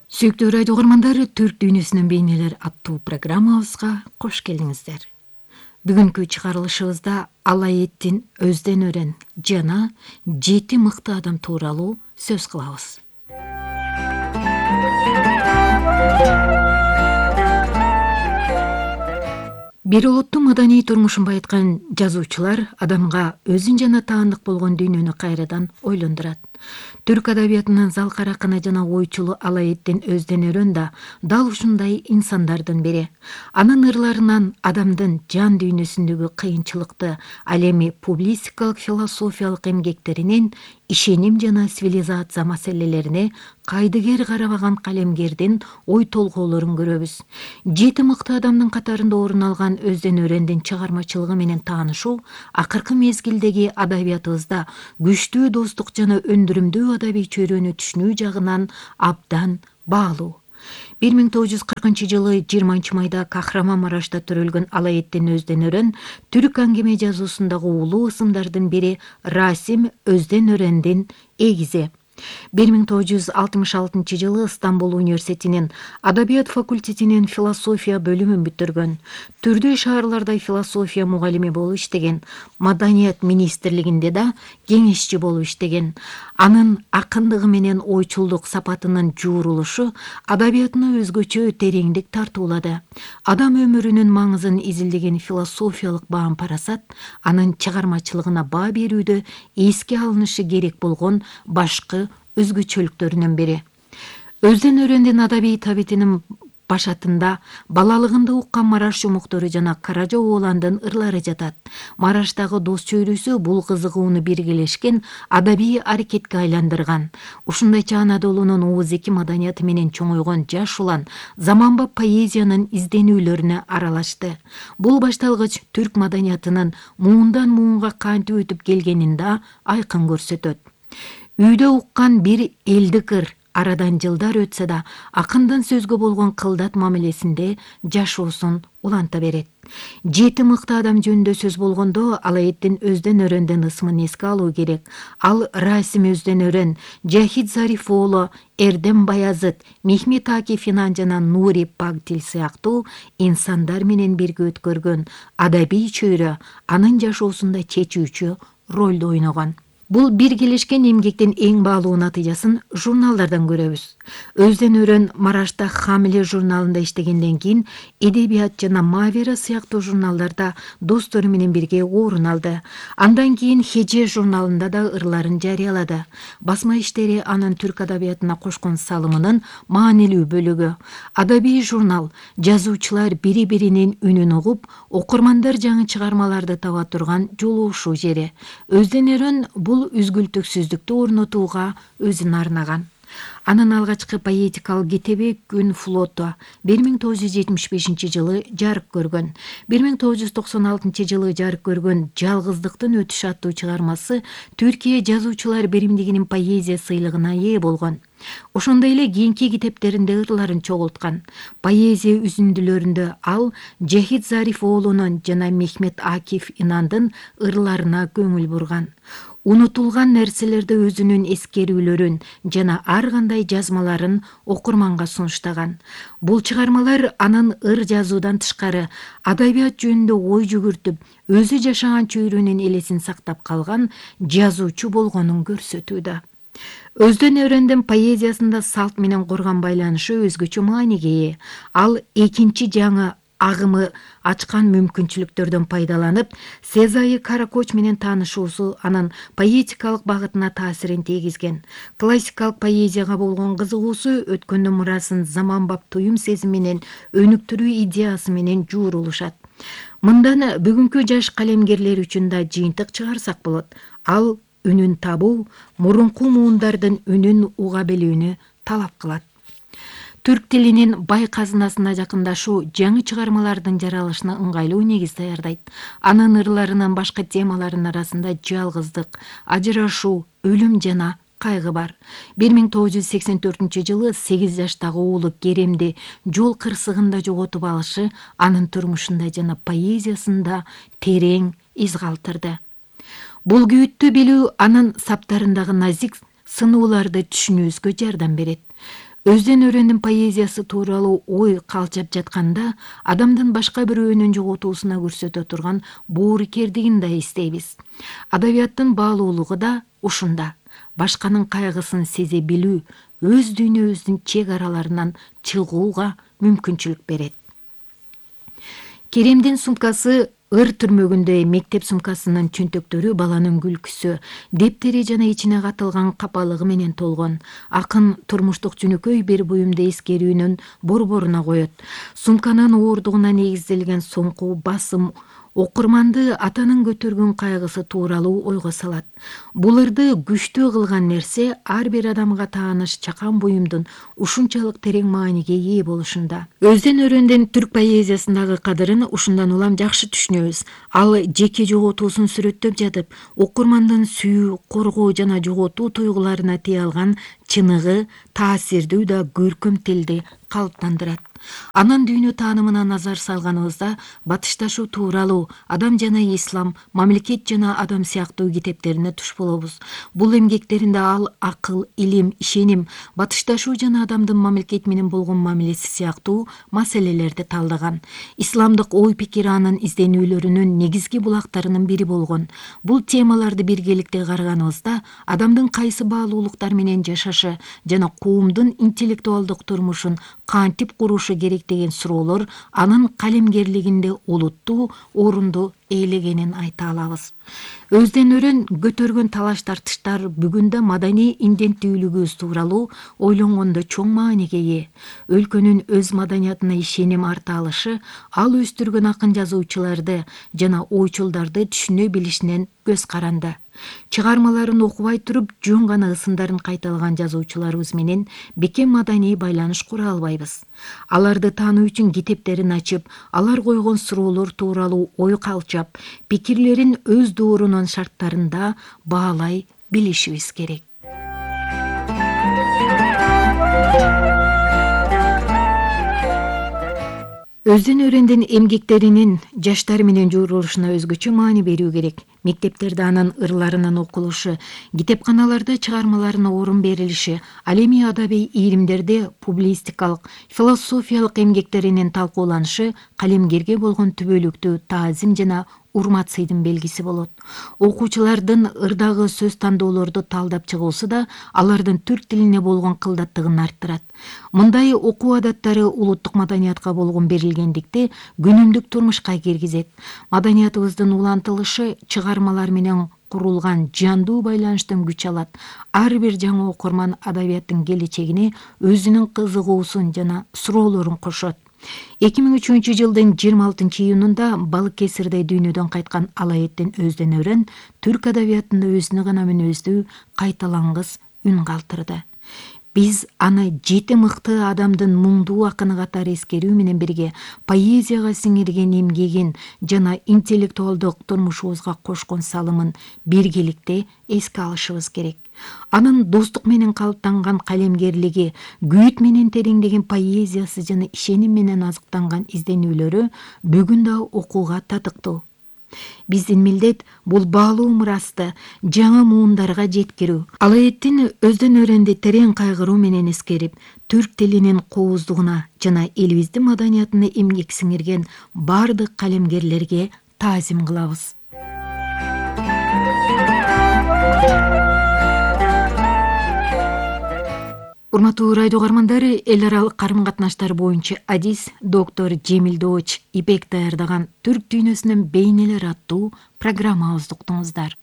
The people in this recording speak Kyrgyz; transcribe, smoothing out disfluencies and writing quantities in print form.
Сүйүктүү радио угармандар, Түрк дүйнөсүнүн бейнелер аттуу программабызга кош келиңиздер. Бүгүнкү чыгарылышыбызда Алаэддин Өздөн өрен жана 7 мыкты адам тууралуу сөз кылабыз. Бир улуттун маданий турмушун байыткан жазуучулар адамга өзүн жана таандык болгон дүйнөнү кайрадан ойлондурат. Түрк адабиятынын залкар акыны жана ойчулу Алаэддин Өздөн өрен да дал ушундай инсандардын бири. Анын ырларынан адамдын жан дүйнөсүндөгү кыйынчылыкты, ал эми публицистикалык философиялык эмгектеринен ишеним жана цивилизация маселелерине кайдыгер карабаган калемгердин ой толгоолорун көрөбүз. 7 мыкты адамдын катарында орун алган Өздөн өрендин чыгармачылыгы менен таанышуу акыркы мезгилдеги адабиятыбызда күчтүү достук жана өндүрүмдүү адабий чөйрөнү түшүнүү жагынан абдан баалуу. 1940-жылы 20 майда Кахраманмарашта төрөлгөн Алаэддин Өздөн өрен түрк аңгеме жазуусундагы улуу ысымдардын бири Расим Өздөн өрендин эгизи. 1966-жылы Стамбул университетинин адабият факультетинин философия бөлүмүн бүтүргөн. Түрдүү шаарларда философия мугалими болуп иштеген, Маданият министрлигинде да кеңешчи болуп иштеген. Анын акындыгы менен ойчулдук сапатынын жуурулушу адабиятына өзгөчө тереңдик тартуулады. Адам өмүрүнүн маңызын изилдеген философиялык баам-парасат анын чыгармачылыгына баа берүүдө эске алынышы керек болгон башкы өзгөчөлүктөрүнүн бири. Өздөн өрендин адабий табитинин башатында балалыгында уккан Мараш жумуктары жана Каража Ооландын ырлары жатат. Мараштагы дос чөйрөсү бул кызыгууну биргелешкен адабий аракетке айландырган. Ушундайча Анадолунун ооз-эки маданияты менен чоңойгон жаш улан заманбап поэзиянын изденүүлөрүнө аралашты. Бул башталгыч түрк маданиятынын муундан муунга кантип өтүп келгенин да айкын көрсөтөт. Үйдө уккан бир элдик ыр арадан жылдар өтсө да акындын сөзгө болгон кылдат мамилесинде жашоосун уланта берет. 7 мыкты адам жөнүндө сөз болгондо Алаэддин Өздөн өрендин ысмын эске алуу керек. Ал Расим Өздөн өрен, Жахид Зариф оолу, Эрдем Баязыт, Мехмет Акиф Инан жана Нури Пагдил сыяктуу инсандар менен бирге өткөргөн адабий чөйрө анын жашоосунда чечүүчү ролду ойногон. Бул биргелешкен эмгектин эң баалуу натыйжасын журналдардан көрөбүз. Өздөн өрен Марашта Хамиле журналында иштегенден кийин Эдебият жана Мавера сыяктуу журналдарда достору менен бирге орун алды. Андан кийин Хеже журналында да ырларын жарыялады. Басма иштери анын түрк адабиятына кошкон салымынын маанилүү бөлүгү. Адабий журнал жазуучулар бири-биринин үнүн угуп, окурмандар жаңы чыгармаларды таба турган жолугушуу жери. Өздөн өрен бул үзгүлтүксүздүктү орнотууга өзүн арнаган. Анын алгачкы поэтикалык китеби Күн флоту 1975-жылы жарык көргөн. 1996-жылы жарык көргөн Жалгыздыктын өтүшү аттуу чыгармасы Түркия жазуучулар биримдигинин поэзия сыйлыгына ээ болгон. Ошондой эле кийинки китептеринде ырларын чогулткан. Поэзия үзүндүлөрүндө ал Жахид Зариф оолунун жана Мехмет Акиф Инандын ырларына көңүл бурган. Унутулган нерселерде өзүнүн эскерүүлөрүн жана ар кандай жазмаларын окурманга сунуштаган. Бул чыгармалар анын ыр жазуудан тышкары адабият жөнүндө ой жүгүртүп, өзү жашаган чөйрөнүн элесин сактап калган жазуучу болгонун көрсөтүүдө. Өздөн өрендин поэзиясында салт менен курган байланышы өзгөчө мааниге ээ. Ал экинчи жаңы агымы ачкан мүмкүнчүлүктөрдөн пайдаланып, Сезайы Каракоч менен таанышуусу анын поэтикалык багытына таасирин тийгизген. Классикалык поэзияга болгон кызыгуусу өткөндүн мурасын заманбап туюм сезими менен өнүктүрүү идеясы менен жуурулушат. Мындан бүгүнкү жаш калемгерлер үчүн да жыйынтык чыгарсак болот. Ал үнүн табуу, мурунку муундардын үнүн уга билүүнү талап кылат. Түрк тилинин бай казынасына жакындашуу жаңы чыгармалардын жаралышына ыңгайлуу негиз даярдайт. Анын ырларынын башка темаларынын арасында жалгыздык, ажырашуу, өлүм жана кайгы бар. 1984-жылы 8 жаштагы уулу Керемди жол кырсыгында жоготуп алышы анын турмушунда жана поэзиясында терең из калтырды. Бул күйүттү билүү анын саптарындагы назик сынууларды түшүнүүбүзгө жардам берет. Өздөн өрөндүн поэзиясы тууралуу ой калчап жатканда адамдын башка бирөөнүн жоготуусуна көрсөтө турган боорукердигин да эстейбиз. Адабияттын баалуулугу да ушунда. Башканын кайгысын сезе билүү өз дүйнөбүздүн чек араларынан чыгууга мүмкүнчүлүк берет. Керемдин сумкасы ыр түрмөгүндөй мектеп сумкасынын чөнтөктөрү баланын күлкүсү, дептери жана ичине катылган капалыгы менен толгон. Акын турмуштук жөнөкөй бир буюмду эскерүүнүн борборуна коет. Сумканын ооругуна негизделген соңку басым окурманды атанын көтөргөн кайгысы тууралуу ойго салат. Бул ырды күчтүү кылган нерсе ар бир адамга тааныш чакан буюмдун ушунчалык терең мааниге ээ болушунда. Өздөн өрөндүн түрк поэзиясындагы кадырын ушундан улам жакшы түшүнөбүз. Ал жеке жоготуусун сүрөттөп жатып, окурмандын сүйүү, коргоо жана жоготуу туйгуларына тие алган чыныгы, таасирдүү да көркөм тилди калыптандырат. Анын дүйнө таанымына назар салганыбызда батышташуу тууралуу, Адам жана ислам, Мамлекет жана адам сыяктуу китептерине туш болобуз. Бул эмгектеринде ал акыл, илим, ишеним, батышташуу жана адамдын мамлекет менен болгон мамилеси сыяктуу маселелерди талдаган. Исламдык ой-пикир анын изденүүлөрүнүн негизги булактарынын бири болгон. Бул темаларды биргеликте караганыбызда адамдын кайсы баалуулуктар менен жашашы жана коомдун интеллектуалдык турмушун кантип курушу керек деген суроолор анын калемгерлигинде олуттуу орунду ээлегенин айта алабыз. Өздөн өрөн көтөргөн талаш тартыштар бүгүндө маданий инденттүүлүгүбүз тууралуу ойлонгондо чоң мааниге ээ. Өлкөнүн өз маданиятына ишеним арта алышы ал өстүргөн акын жазуучуларды жана ойчулдарды түшүнө билишинен көз каранды. Чыгармаларын окубай туруп жөн гана ысымдарын кайталаган жазуучуларыбыз менен бекем маданий байланыш кура албайбыз. Аларды таануу үчүн китептерин ачып, алар койгон суроолор тууралуу ой калчап, пикирлерин өз доорунун шарттарында баалай билишибиз керек. Өздөн өрөндүн эмгектеринин жаштар менен журулушуна өзгөчө маани берүү керек. Мектептерде анын ырларынын окулушу, китепканаларда чыгармаларына орун берилиши, ал эми адабий ийримдерде публистикалык, философиялык эмгектеринин талкууланышы калемгерге болгон түбөлүктүү таазим жана урмат сыйдын белгиси болот. Окуучулардын ырдагы сөз тандоолорду талдап чыгуусу да алардын түрк тилине болгон кылдаттыгын арттырат. Мындай окуу адаттары улуттук маданиятка болгон берилгендикти күнүмдүк турмушка киргизет. Маданиятыбыздын улантылышы чыгармалар менен курулган жандуу байланыштан күч алат. Ар бир жаңы окурман адабияттын келечегине өзүнүн кызыгуусун жана суроолорун кошот. 2003 жылдын 26 июнунда Балыкесирде дүйнөдөн кайткан Алаэттин Өздөн өрөн түрк адабиятында өзүнө гана мүнөздүү кайталангыс үн калтырды. Биз аны 7 мыкты адамдын муңдуу акыны катары эскерүү менен бирге поэзияга сиңирген эмгегин жана интеллектуалдык турмушубузга кошкон салымын биргеликте эске алышыбыз керек. Анын достук менен калыптанган калемгерлиги, күйүт менен тереңдеген поэзиясы жана ишеним менен азыктанган изденүүлөрү бүгүн да окууга татыктуу. Биздин милдет бул баалуу мурасты жаңы муундарга жеткирүү. Алаэттин Өздөн өрөндү терең кайгыруу менен эскерип, түрк тилинин кооздугуна жана элибиздин маданиятына эмгек сиңирген бардык калемгерлерге таазим кылабыз. Урматтуу радио угармандар, эл аралык карым-катнаштар боюнча адис доктор Жемил Дооч Ипек даярдаган Түрк дүйнөсүнүн бейнелери аттуу программабызды уктуңуздар.